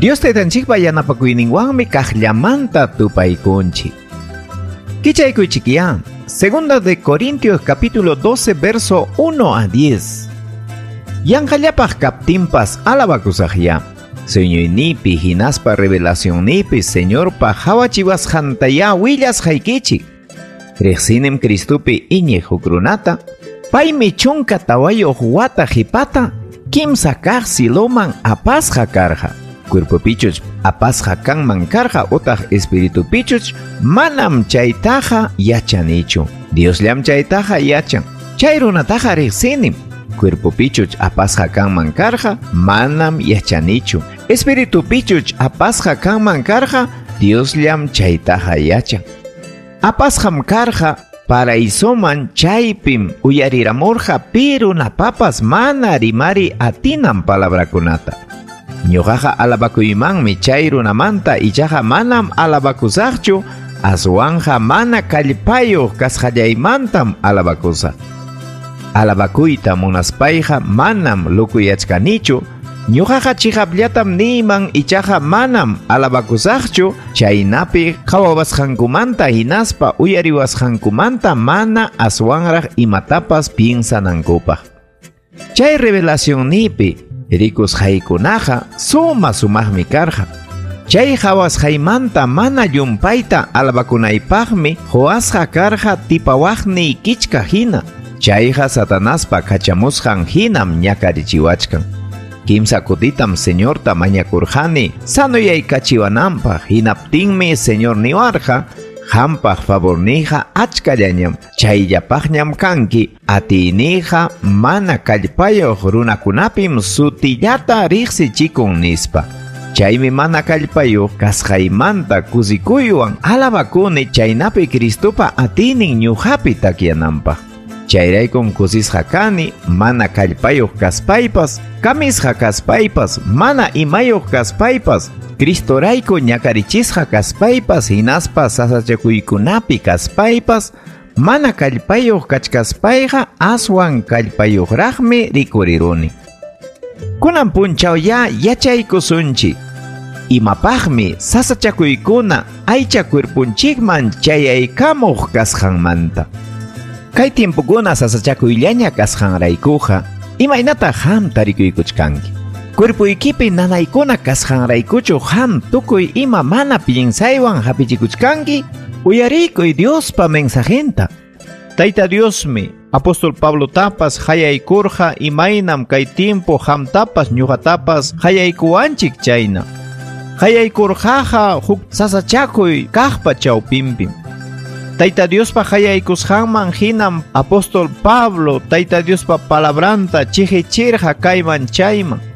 Dios taytanchikpa yanapakuyninwanmi kaqllamanta tupaykunchik. Kichaykuychikyá, Segunda de Corintios capítulo 12 verso 1 a 10. Yanqallapaq kaptinpas alabakusaqyá. Sueñoynipi hinaspa revelacionnipi Señorpa hawachiwasqantayá willasqaykichik. Riqsinim Cristopi iñiq huk runata, paymi 14 wata qhipata kimsa kaq ciloman apasqa karqa. Cuerpopichuch apasqa kanman karqa utaq espiritupichuch manam chaytaqa yachanichu. Diosllam chaytaqa yachan. Chay runataqa riqsinim. Cuerpopichuch apasqa kanman karqa manam yachanichu. Espiritupichuch apasqa kanman karqa Diosllam chaytaqa yachan. Apasqam karqa paraisoman chaypim uyariramurqa pi runapapas mana rimari atinam palabrakunata. Ñuqaqa alabakuymanmi chay runamanta ichaqa manam alabakusaqchu, aswanqa mana kallpayuq kasqallaymantam alabakusaq. Alabakuyta munaspayqa manam lukuyachkanichu, ñuqaqa chiqapllatam niyman ichaqa manam alabakusaqchu, chaynapi qhawawasqankumanta hinaspa uyariwasqankumanta mana aswanraq imatapas piensanankupaq. Chay revelacionnipi rikusqaykunaqa suma sumaqmi karqa. Chay hawasqaymanta mana llumpayta alabakunaypaqmi huwasqa karqa tipawaqniy kichka hina. Chayqa Satanaspa kachamusqan hinam ñakarichiwachkan. Kimsa kutitam Señorta mañakurqani sanoyaykachiwananpaq, hinaptinmi Señor niwarqa, hampaq favornija achkallañam, chayllapaqñam kanki, atiynija mana kallpayuq runakunapim sutillata riqsichikun nispa. Chaymi mana kallpayuq kasqaymanta kusikuywan alabakuni chaynapi Cristopa atiynin ñuqapi takyananpaq. Chayraykum kusisqa kani, mana kallpayuq kaspaypas, kamisqa kaspaypas, mana imayuq kaspaypas, Cristorayku ñakarichisqa kaspaypas, hinaspa sasachakuykunapi kaspaypas, mana kallpayuq kachkaspayqa aswan kallpayuqraqmi rikuriruni. Kunan punchaw ya yachaykusunchik. Imapaqmi sasachakuykuna aycha cuerpunchikman chayaykamuq kasqanmanta. Kay tiempokuna sasachakuyllaña kasqanraykuqa, imaynataq qam tarikuykuchkanki? Cuerpuykipi nanaykuna kasqanraykuchu qam tukuy ima mana piensaywan hapichikuchkanki? Uyarikuy Diospa mensajenta. Tayta Diosmi Apóstol Pablo tapas hayaykurqa imaynam kay tiempo qamtapas ñuqatapas hayaykuwanchik chayna. Hayaykurqaqa huk sasachakuy kaqpa chawpinpim. Tayta Diospa hayaykusqanman hinam Apóstol Pablo Tayta Diospa palabranta chiqichirqa kayman chayman.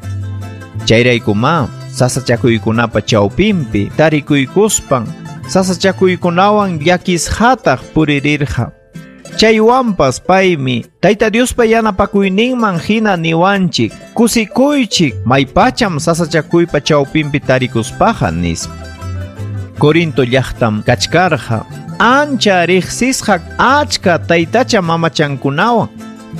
Chayraykuma sasachakuykunapa chawpinpi tarikuykuspan sasachakuykunawan llakisqataq puririrqa. Chaywanpas paymi Tayta Diospa yanapakuyninman hina niwanchik, kusikuychik maypacham sasachakuypa chawpinpi tarikuspaqa nispa. Corinto llaqtam kachkarqa ancha riqsisqa achka taytacha mamachankunawan.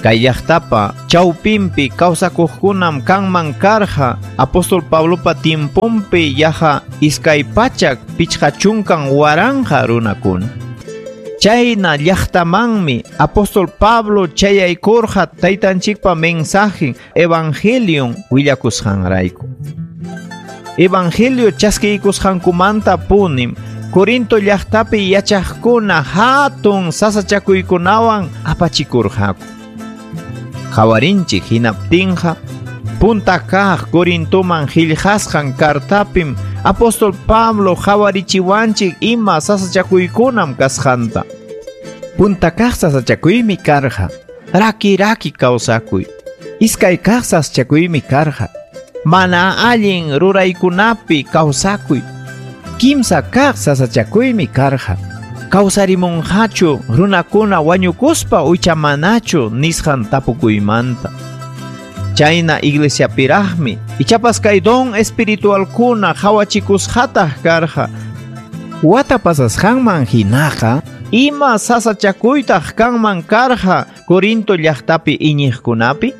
Kay llaqtapa chawpinpi kawsakuqkunam kanman karqa Apóstol Pablopa tiemponpi yaqa 250 waranqa runakuna. Chayna llaqtamanmi Apóstol Pablo chayaykurqa taytanchikpa mensajen Evangelion willakusqanrayku. Evangelio chaskiykusqankumanta punim Corinto llaqtapi yachaqkuna hatun sasachakuykunawan apachikurqaku. Qhawarinchik hinaptinqa punta kaq Corintoman qillqasqan kartapim Apóstol Pablo qhawarichiwanchik ima sasachakuykunam kasqanta. Punta kaq sasachakuymi karqa raki raki kawsakuy. Iskay kaq sasachakuymi karqa mana allin ruraykunapi kawsakuy. Kimsa kaq sasachakuymi karqa kawsarimunqachu runakuna wañukuspa uychamanachu nisqan tapukuymanta. Chayna iglesiapiraqmi ichapas kay don espiritualkuna qhawachikusqataq karqa. Wata pasasqanman hinaqa ima sasachakuytaq kanman karqa Corinto llaqtapi iñiqkunapi?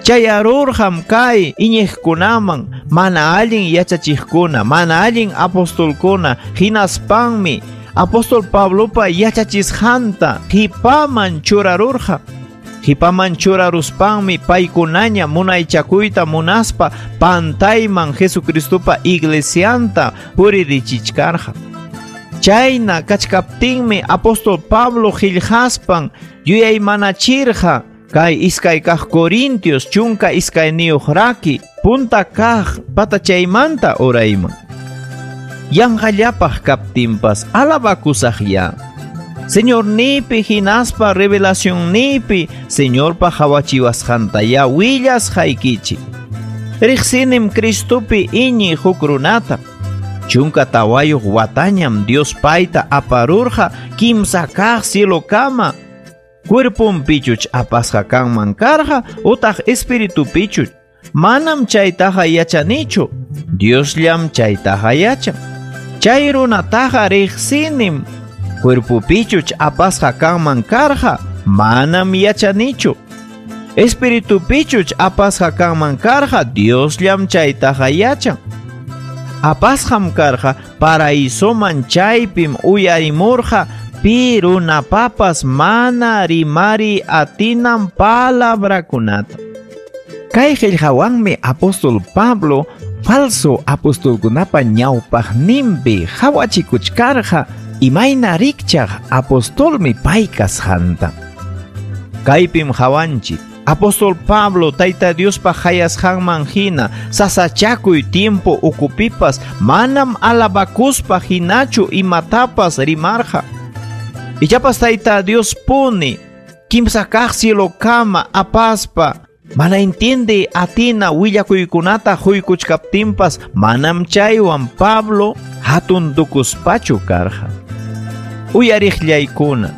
Chayarurqam kay iñiqkunaman mana allin yachachiqkuna, mana allin apostolkuna, hinaspanmi apóstol Pablopa yachachisqanta qipaman churarurqa. Qipaman churaruspanmi paykunaña munaychakuyta munaspa pantayman Jesucristopa iglesianta puririchichkarqa. Chayna kachkaptinmi apóstol Pablo qillqaspan yuyaymanachirqa kay iskay kaq Corintios 12 raki punta kaq patachaymanta urayman. Yanqallapaq kaptinpas alabakusaqya. Señornipi hinaspa revelacionnipi Señorpa hawachiwasqantaya willasqaykichik. Riqsinim Cristopi iñiq huk runata. 14 watañam Dios payta aparurqa kimsa kaq cielokama. Cuerponpichuch apasqa kanman karqa utaq espiritupichuch. Manam chaytaqa yachanichu. Diosllam chaytaqa yachan. Chay runataqa riqsinim. Cuerpopichuch apasqa kanman karqa manam yachanichu. Espiritupichuch apasqa kanman karqa Diosllam chaytaqa yachan. Apasqam karqa paraisoman chaypim uyarimurqa pi runapapas mana rimari atinam palabrakunata. Kay qillqawanmi apóstol Pablo falso apostolkunapa ñawpaqninpi hawachikuchkarqa imayna rikchaq apostolmi pay kasqanta. Kaypim hawanchik apóstol Pablo Tayta Diospa hayasqanman hina sasachakuy tiempo ukupipas manam alabakuspa hinachu imatapas rimarqa. Ichapas Tayta Dios puni kimsa kaq cielokama apaspa mana entiende atina willakuykunata huykuchkaptinpas manam chaywan Pablo hatun tukuspachu karqa. Uyariqllaykuna,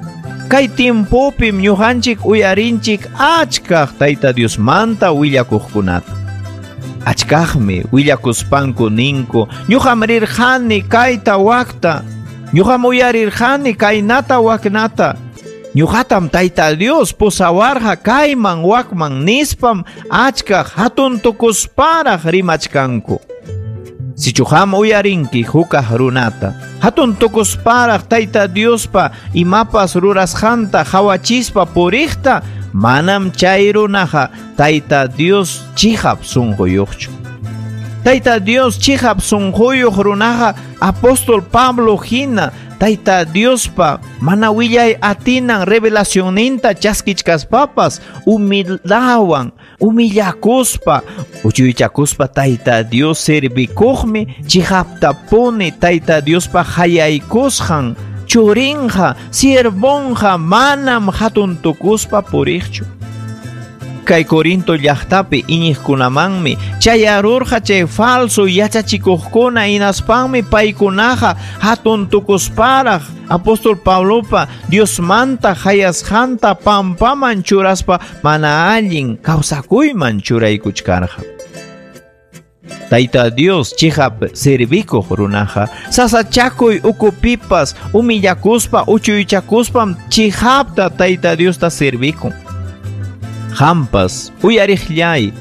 kay tiempopim ñuqanchik uyarinchik achkaq Tayta Diosmanta willakuqkunata. Achkaqmi willakuspanku ninku, ñuqam rirqani kayta wakta, ñuqam uyarirqani kaynata waknata, ñuqatam Tayta Dios pusawarqa kayman wakman nispam achkaq hatun tukusparaq rimachkanku. Sichuham uyarinki hukaq runata, hatun tukusparaq Tayta Diospa imapas rurasqanta hawachispa puriqta, manam chay runaqa Tayta Dios chihap sunquyuqchu. Tayta Dios chihap sunquyuq runaqa apóstol Pablo hina Tayta Diospa mana willay atinan revelacionninta chaskichkaspapas humildawan humillakuspa uchuychakuspa Tayta Dios servikuqmi chihaptapuni Tayta Diospa hayaykusqan churinqa siervonqa manam hatun tukuspa puriqchu. Kay Corinto llaqtapi iñiqkunamanmi chayarurqa chay falso yachachikuqkuna hinaspanmi paykunaqa hatun tukusparaq apóstol Pablopa Diosmanta hayasqanta pampaman churaspa mana allin kawsakuyman churaykuchkarqa. Tayta Dios chihap servikuq runaqa sasachakuy ukupipas humillakuspa uchuychakuspam chihapta Tayta Diosta servikun. Hampas uyariqllay,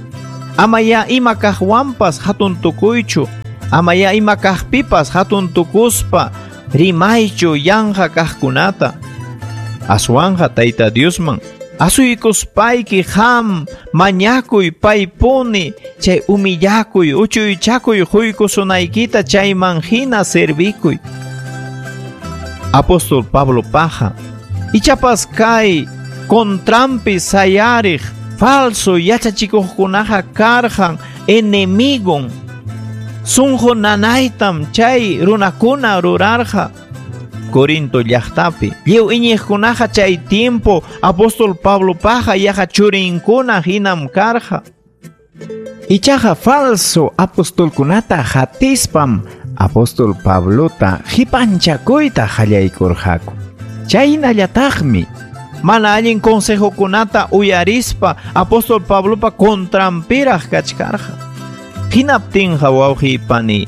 amaya ima kaqwanpas hatun tukuychu, amaya ima kaqpipas hatun tukuspa rimaychu yanqa kaqkunata. Aswanqa Tayta Diosman asuykuspayki ham mañakuy paypuni chay humillakuy uchuychakuy huykusunaykita chayman hina servikuy. Apóstol Pablo paja ichapas kay contrampi sayariq falso yachachikuqkunaqa karqan enemigon. Sunqu nanaytam chay runakuna rurarqa. Corinto llaqtapi lliw iñiqkunaqa chay tiempo apóstol Pablo paja yaqa churinkuna hinam karqa. Ichaqa falso apostolkunata hatispam apóstol Pablota qipanchakuyta qallaykurqaku. Chaynallataqmi mana allin consejokunata uyarispa apóstol Pablopa contrampiraq kachkarqa. Hinaptinqa wawqipani,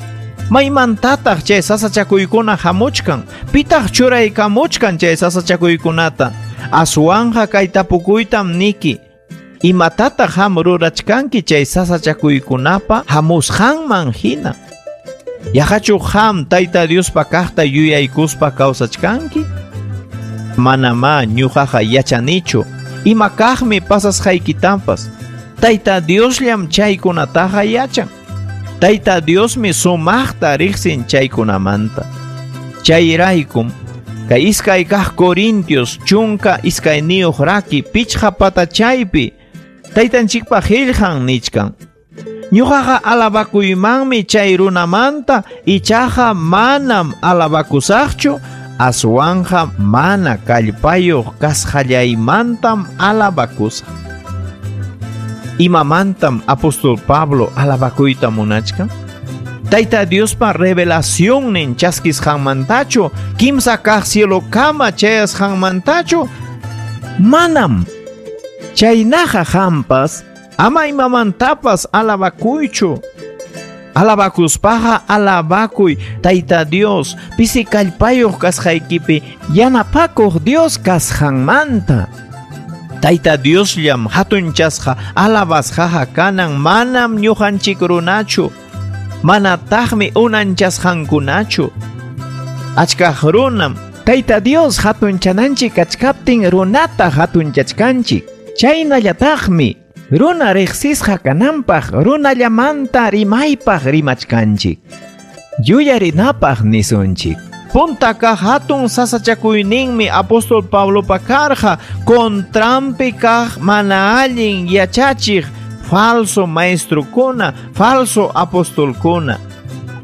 maymantataq chay sasachakuykuna hamuchkan, pitaq churaykamuchkan chay sasachakuykunata. Aswanqa kay tapukuytam niki, Imatataq qam rurachkanki chay sasachakuykunapa hamusqanman hina? Yaqachu qam Tayta Diospa kaqta yuyaykuspa kawsachkanki? Manamá ñuqaqa yachanichu ima kaqmi pasasqaykitapas. Tayta Diosllam chaykunataqa yachan. Tayta Diosmi sumaqta riqsin chaykunamanta. Chayraykum kay iskay kaq Corintios 12 raki 5 patachaypi Taytanchikpa qillqan nichkan: Ñuqaqa alabakuymanmi chay runamanta, ichaqa manam alabakusaqchu, aswanqa mana kallpayuq kasqallaymantam alabakusaq. Imamantam apóstol Pablo alabakuyta munachkan? Tayta Diospa revelacionnin chaskisqanmantachu, kimsa kaq cielokama chayasqanmantachu? Manam. Chaynaqa qampas ama imamantapas alabakuychu. Alabakuspaqa alabakuy Tayta Dios pisi kallpayuq kasqaykipi yanapakuq Dios kasqanmanta. Tayta Diosllam hatunchasqa alabasqaqa kanan, manam ñuqanchik runachu, manataqmi unanchasqankunachu. Achkaq runam Tayta Dios hatunchananchik kachkaptin runata hatunchachkanchik. Chaynallataqmi runa riqsisqa kananpaq runallamanta rimaypaq rimachkanchik. Yuyarinapaq nisunchik. Punta kaq hatun sasachakuyninmi apóstol Pablopa karqa contranpi kaq mana allin yachachiq falso maestrokuna, falso apostolkuna.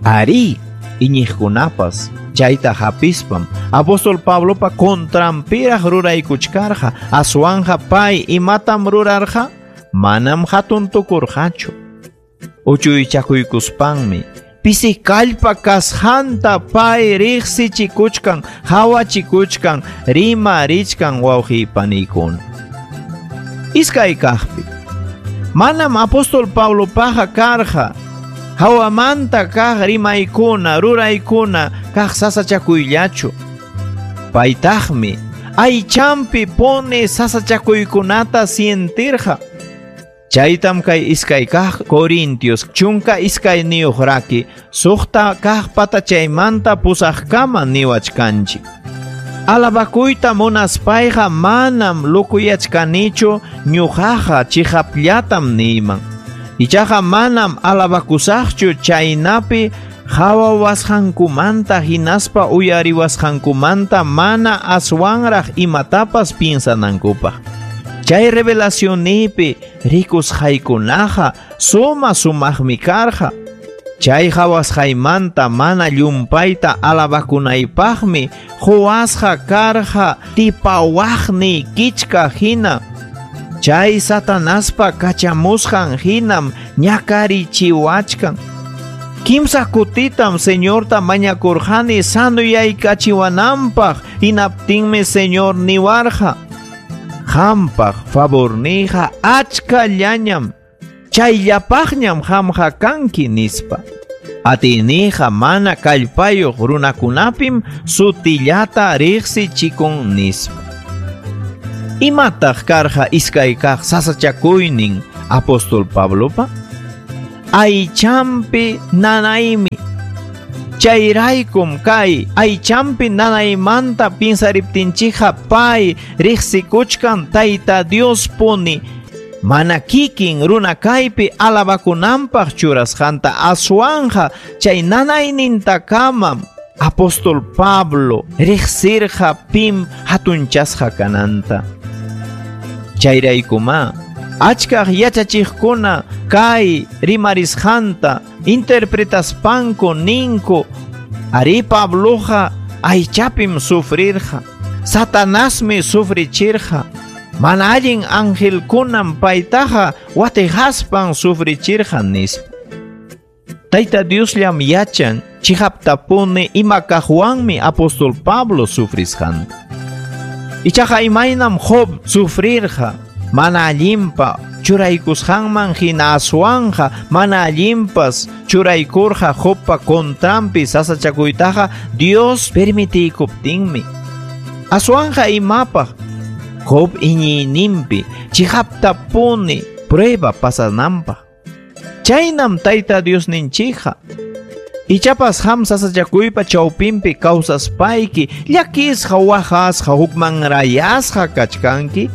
Ari iñiqkunapas chayta hapispam apóstol Pablopa contranpiraq ruraykuchkarqa. Aswanja pay imatam rurarqa? Manam hatun tukurqachu. Uchuychakuykuspanmi pisi kallpa kasqanta pay riqsichikuchkan, hawachikuchkan, rimarichkan wawqi panikuna. Iskay kaqpi manam apóstol Pablopaqa karqa hawamanta kaq rimaykuna, ruraykuna kaq sasachakuyllachu. Paytaqmi aychampi pone sasachakuykunata sientirqa. Chaytam kay iskay kaq Corintios 12 raki 6 kaq patachaymanta 8kama niwachkanchik. Alabakuyta munaspayqa manam lukuyachkanichu, ñuqaqa chiqapllatam niyman. Ichaqa manam alabakusaqchu chaynapi qhawawasqankumanta hinaspa uyariwasqankumanta mana aswanraq imatapas piensanankupaq. Chay revelacionipi rikusqaykunaqa suma sumaqmi karqa. Chay qhawasqaymanta mana llumpayta alabakunaypaqmi quwasqa karqa tipawaqni kichka hina. Chay Satanaspa kachamusqan hinam ñakarichiwachkan. Kimsa kutitam Señorta mañakurqani sanuyaykachiwananpaq, hinaptinmi Señor niwarqa: Qampaq favorniyqa achkallañam, chayllapaqñam qamqa kanki nispa. Atiniyqa mana kallpayuq runakunapim sutillata riqsichikun nispa. Imataq karqa iskay kaq sasachakuynin apóstol Pablopa? Aychampi nanaymi. Chayraykum kay aychampi nanaymanta pinsariptinchikqa pay riqsikuchkan Tayta Dios puni mana kikin runa kaypi alabakunanpaq churasqanta, aswanja chay nanaynintakamam apóstol Pablo riqsirqa pim hatunchasqa kananta. Chayraykuma achkaq yachachiqkuna kay rimarisqanta interpretaspanku ninku: Ari Pabloqa aychapim sufrirqa, Satanasmi sufrichirqa, mana allin angelkunam paytaqa watijaspan sufrichirqa nispa. Tayta Diosllam yachan chiqaptapuni ima kaqwanmi apóstol Pablo sufrisqanta. Ichaqa imaynam Job sufrirqa mana allinpa churaykusqanman hina aswanja mana allinpas churaykurqa Jobpa contranpi sasachakuytaqa Dios permitiykuptinmi. Aswanja imapaq Job iñiyninpi chiqaptapuni prueba pasananpaq. Chaynam Tayta Diosninchikqa. Ichapas ham sasachakuypa chawpinpi kawsaspayki llakisqa waqasqa hukmanrayasqa kachkanki.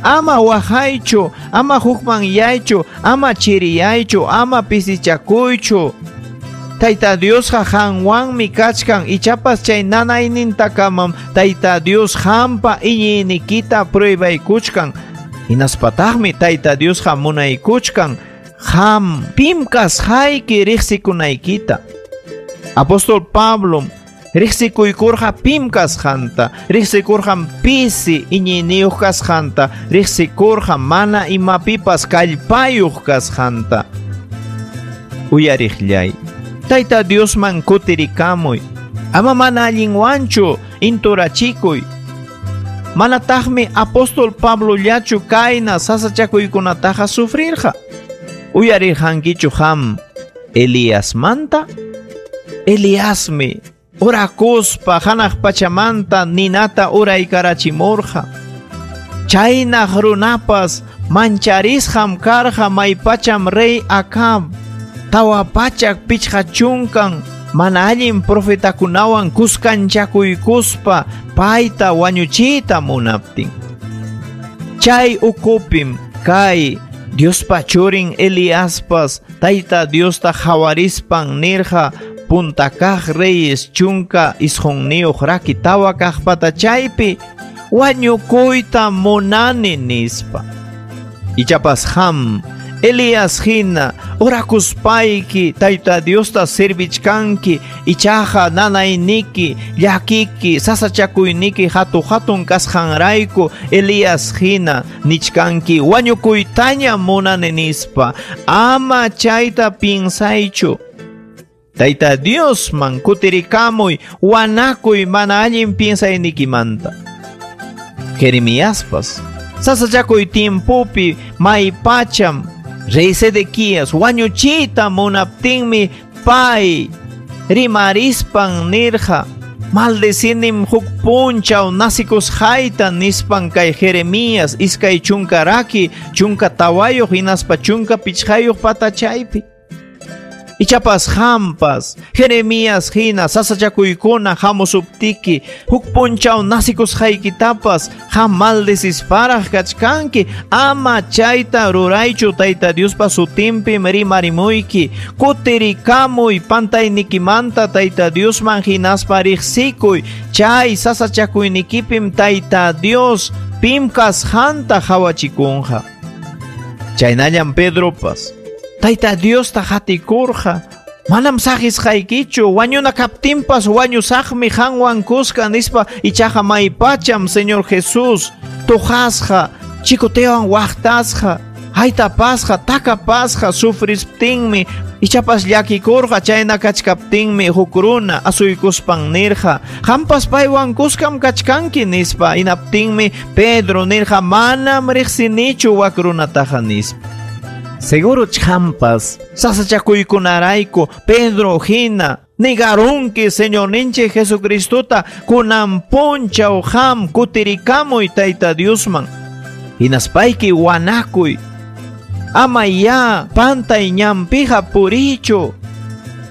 Ama waqaychu, ama hukmanyaychu, ama chiriyaychu, ama pisichakuychu. Tayta Diosqa qanwanmi kachkan, ichapas chay nanaynintakamam Tayta Dios qampa iñiynikita pruebaykuchkan. Hinaspataqmi Tayta Diosqa munaykuchkan qam pim kasqayki riqsikunaykita. Apóstol Pablom riqsikuykurqa pim kasqanta, riqsikurqam pisi iñiyniyuq kasqanta, riqsikurqa mana imapipas kallpayuq kasqanta. Uyariqllay, Tayta Diosman kutirikamuy, ama mana allinwanchu inturachikuy. Manataqmi apóstol Pablollachu kayna sasachakuykunataqa sufrirqa. Uyarirqankichu qam Eliasmanta? Eliasmi orakuspa hanaq pachamanta ninata uraykarachimurqa. Chaynaq runapas mancharisqam karqa maypacham rey Acab 450 mana allin profetakunawan kuskanchakuykuspa payta wañuchiyta munaptin. Chay ukupim kay Diospa churin Eliaspas Tayta Diosta hawarispan nirqa punta kaq reyes 19 raki 4 kaq patachaypi wañukuyta munani nispa. Ichapas ham Elías hina orakuspayki Tayta Diosta servichkanki, ichaqa nanayniki, llakiki, sasachakuyniki hatu hatun kasqanrayku Elías hina nichkanki wañukuytaña munani nispa. Ama chayta piensaychu. Tayta Diosman kutirikamuy, wanakuy mana allin piensaynikimanta. Jeremiaspas sasachakuy tiempopi maypacham rey Sedequías wañuchiyta munaptinmi pay rimarispan nirqa maldecinim huk punchaw nasikusqayta nispan kay Jeremías 2 raki 14 hinaspa 15 patachaypi. Ichapas hampas Jeremías hina sasachakuykuna hamusuptiki huk punchaw nasikusqaykitapas qam maldecisparaq kachkanki. Ama chayta ruraychu Tayta Diospa sutinpim rimarimuyki. Kutirikamuy pantaynikimanta Tayta Diosman hinaspa riqsikuy. Chay sasachakuynikipim Tayta Dios pim kasqanta hawachikunqa. Chaynallam Pedropas Tayta Diosta hatikurqa, manam saqisqaykichu, wañuna kaptinpas wañusaqmi qanwan kuska nispa, ichaqa maypacham Señor Jesús tuqasqa, chikutewan waqtasqa, haytapasqa, takapasqa sufrisptinmi, ichapas llakikurqa chayna kachkaptinmi huk runa asuykuspan nirqa, qampas paywan kuskam kachkanki nispa, hinaptinmi Pedro nirqa manam riqsinichu wak runataqa nispa. Seguro champas sasachakuykunarayku Pedro hina negarunki Señorninchik Jesucristota kunan punchaw qam kutirikamuy Tayta Diosman. Hinaspayki wanakuy. Ama ya pantay ñanpiqa purichu.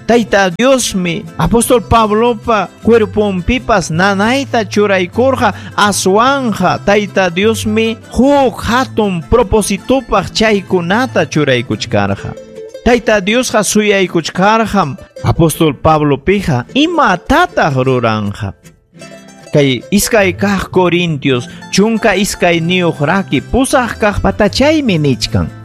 Tayta Diosmi apóstol Pablopa cuerponpipas nanayta churaykurqa aswanja Tayta Diosmi huk hatun propositopaq chaykunata churaykuchkarqa. Tayta Diosqa suyaykuchkarqam apóstol Pablopija imatataq ruranja. Kay 2 kaq Corintios 12 raki 8 kaq patachaymi nichkan.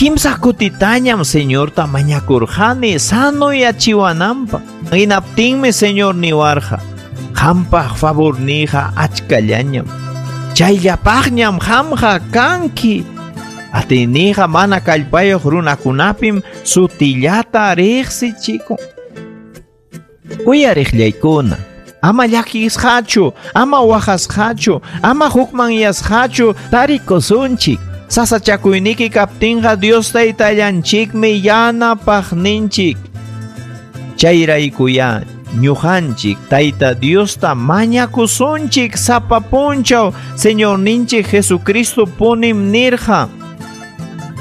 Kimsa kutitañam Señorta mañakurqani sanoyachiwananpaq. Hinaptinmi Señor niwarqa, qampaq favorniyqa achkallañam. Chayllapaqñam qamqa kanki. Atiniyqa mana kallpayuq runakunapim sutillata riqsichikun. Uyariqllaykuna, ama llakisqachu, ama waqasqachu, ama hukmanyasqachu tarikusunchik. Sasachakuyniki kaptinqa Dios Taytallanchikmi yanapaqninchik. Chayraykuya Ñuqanchik Tayta Diosta mañakusunchik sapa punchaw Señorninchik Jesucristo punim nirqa.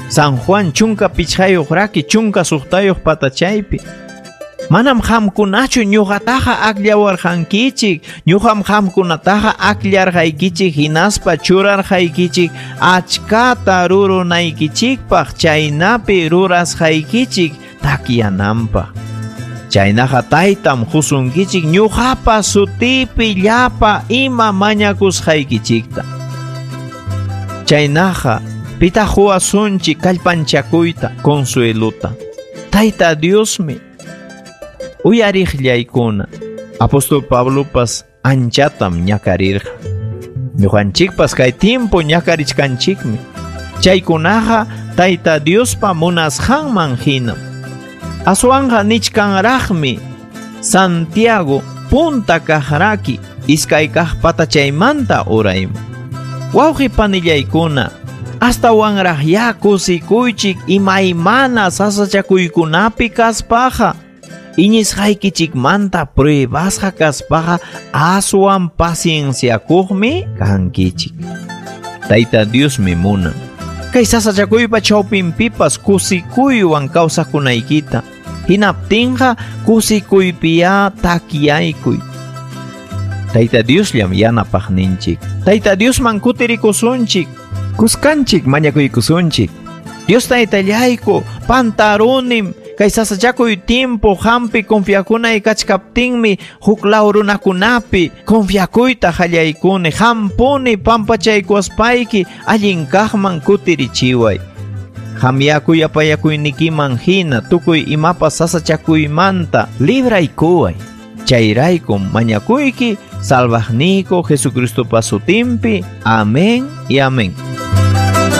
San Juan 15 raki 16 patachaypi. Manam qamkunachu ñuqataqa akllawarqankichik, ñuqam qamkunataqa akllarqaykichik hinaspa churarqaykichik achkata rurunaykichikpaq chaynapi rurasqaykichik takyananpaq. Chaynaqa taytam husunkichik ñuqapa sutipi llapa ima mañakusqaykichikta. Chaynaqa pitaq huwasunchik kallpanchakuyta consueluta. Tayta Diosmi uyariqllaykuna. Apóstol Pablopas anchatam ñakarirqa. Ñuqanchikpas kay tiempo ñakarichkanchikmi. Chaykunaqa Tayta Diospa munasqanman hinam. Aswanqa nichkanraqmi Santiago punta kaqraki iskay kaq patachaymanta urayman. Wawqi panillaykuna, astawanraqya kusikuychik imaymana sasachakuykunapi kaspaqa. Iñisqaykichikmanta pruebasqa kaspaqa aswan pacienciakuqmi kankichik. Tayta Diosmi munan kay sasachakuypa chawpinpipas kusikuywan kawsakunaykita. Hinaptinqa kusikuypiya takyaykuy. Tayta Diosllam yanapaqninchik. Tayta Diosman kutirikusunchik. Kuskanchik mañakuykusunchik. Dios taytallayku pantarunim kay sasachakuy tiempo hampi confiakunay kachkaptinmi huk law runakunapi confiakuyta qallaykuni hampuni pampachaykuwaspayki allin kaqman kutirichiway. Hamyakuy apayakuynikiman hina tukuy imapas sasachakuymanta libraykuway. Chayraykum mañakuyki salvaqniyku Jesucristopa sutinpi. Amén y amén.